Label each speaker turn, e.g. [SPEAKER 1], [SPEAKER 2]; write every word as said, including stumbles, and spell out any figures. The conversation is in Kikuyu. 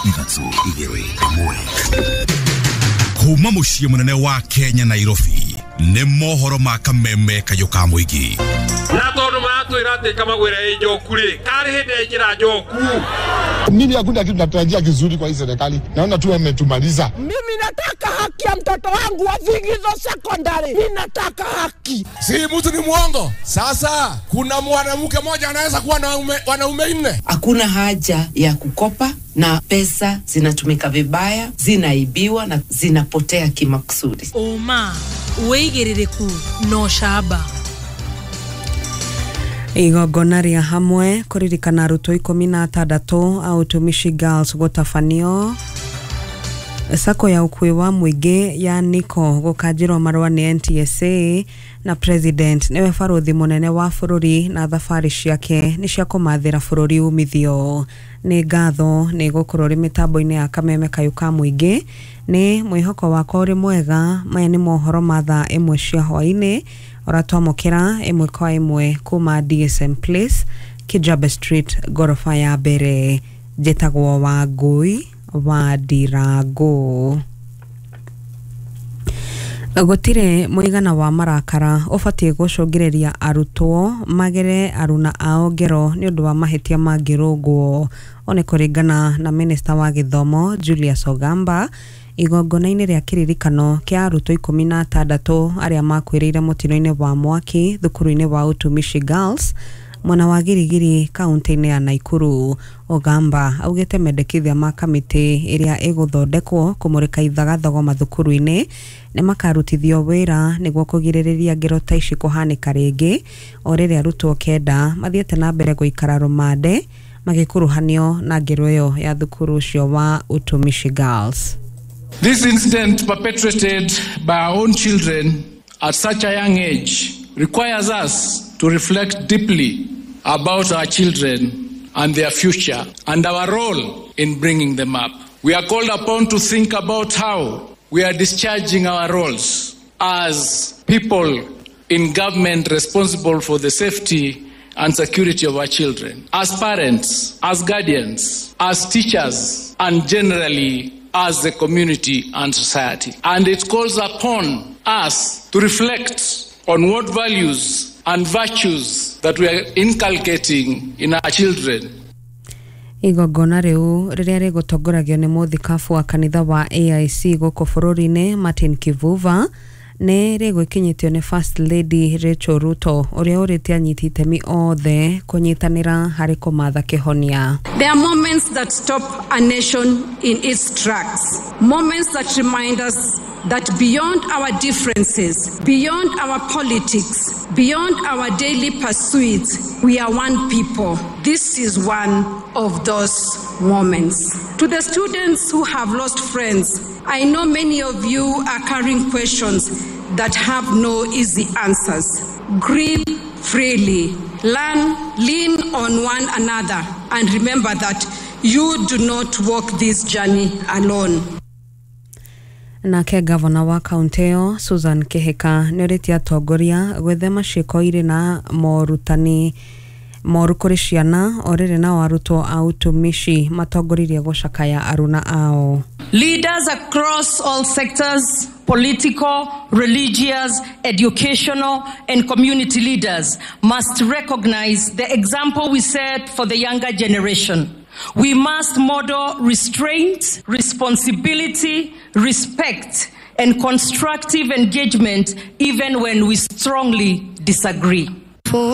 [SPEAKER 1] Ithatũ igĩrĩ ĩmwe. Kuma mũciĩ mũnene wa Kenya, Nairobi, nĩ mohoro ma kameme kayũ ka mũingĩ.
[SPEAKER 2] Na tondũ maratwĩra atĩ kamagwĩra ĩ njoku rĩ, karĩ hĩndĩ yaingĩra njoku.
[SPEAKER 3] Mimi hakuna kitu natarajia kizuri kwa hii serikali, naona tu wametumaliza.
[SPEAKER 4] Mimi nataka haki ya mtoto wangu wa Vigizo Secondary. Mimi nataka haki.
[SPEAKER 5] Si mtu ni mwongo. Sasa kuna mwanamke mmoja anaweza kuwa na wanaume nne.
[SPEAKER 6] Hakuna haja ya kukopa na pesa zinatumika vibaya, zinaibiwa na zinapotea kimakusudi.
[SPEAKER 7] Oma wĩigĩrĩrĩku na ũcamba.
[SPEAKER 8] Igongona rĩa hamwe kũririkana arutwo ikũmi na atandatũ a Utumishi Girls gũtabanio. Sacco ya ũkuui wa mũingĩ ya Nico gũkanjĩrwo marũa nĩ N T S A, na President nĩwe barũthi mũnene wa bũrũri na thabarĩ ciake nĩ cia kũmathĩra bũrũri umithio. Nĩ ngatho nĩ gũkorwo ũrĩ mĩtambo-inĩ ya kameme kayũ ka mũingĩ. Nĩ mwĩhoko wakwa ũrĩ mwega. Maya nĩ mohoro ma thaa ĩmwe cia hwaĩ-inĩ ũratwamũkĩra ĩmwe kwa ĩmwe kuma D S M Place, Kijabe Street, ngoroba ya mbere. Njĩtagwo Wangũi wa Ndirango. Gũtirĩ mũigana wa marakara ũbatiĩ gũcũngĩrĩria arutwo magere aruna ao ngero nĩ ũndũ wa mahĩtia mangĩrũngwo. O nĩ kũringana na minista wa gĩthomo Julius Ogamba igongona-inĩ rĩa kĩririkano kĩa arutwo ikũmi na atandatũ arĩa makuĩrĩire mũtino-inĩ wa mwaki thukuru-inĩ wa Utumishi Girls mwena wa Girigiri, kaunti-inĩ ya Naikuru. Ogamba augĩte mendekithia ma kamĩtĩ ĩrĩa ĩgũthondekwo kũmũrĩka ithagathogo mathukuru-inĩ nĩ makarutithio wĩra nĩguo kũgirĩrĩria ngero ta ici kũhanĩka rĩngĩ, o rĩrĩa arutwo kenda mathiĩte na mbere gũikara rũmande magĩkuruhanio na ngero ĩyo ya thukuru ũcio wa Utumishi Girls.
[SPEAKER 9] This incident, perpetrated by our own children at such a young age, requires us to reflect deeply about our children and their future and our role in bringing them up. We are called upon to think about how we are discharging our roles as people in government responsible for the safety and security of our children, as parents, as guardians, as teachers, and generally as the community and society. And it calls upon us to reflect on what values and virtues that we are inculcating in our children.
[SPEAKER 8] Igongona rĩu rĩrĩa rĩgũtongoragio nĩ mũthikabu wa kanitha wa A I C gũkũ bũrũri-inĩ Martin Kivuva nĩ rĩgwĩkinyĩtio nĩ First Lady Rachel Ruto, ũrĩa ũrĩte anyiti itemi othe kũnyitanĩra harĩ kũmatha kĩhonia.
[SPEAKER 10] There are moments that stop a nation in its tracks, moments that remind us that beyond our differences, beyond our politics, beyond our daily pursuits, we are one people. This is one of those moments. To the students who have lost friends, I know many of you are carrying questions that have no easy answers. Grieve freely, learn, lean on one another, and remember that you do not walk this journey alone.
[SPEAKER 8] Nake gavana wa kaunti ĩyo Susan Kihika nĩ orĩtie atongoria gwĩthema ciĩko irĩ na morutani moru kũrĩ ciana, o rĩrĩ nao arutwo a Utumishi matongoririe gũcakaya aruna ao.
[SPEAKER 11] Leaders across all sectors, political, religious, educational, and community leaders, must recognize the example we set for the younger generation. We must model restraint, responsibility, respect, and constructive engagement even when we strongly disagree.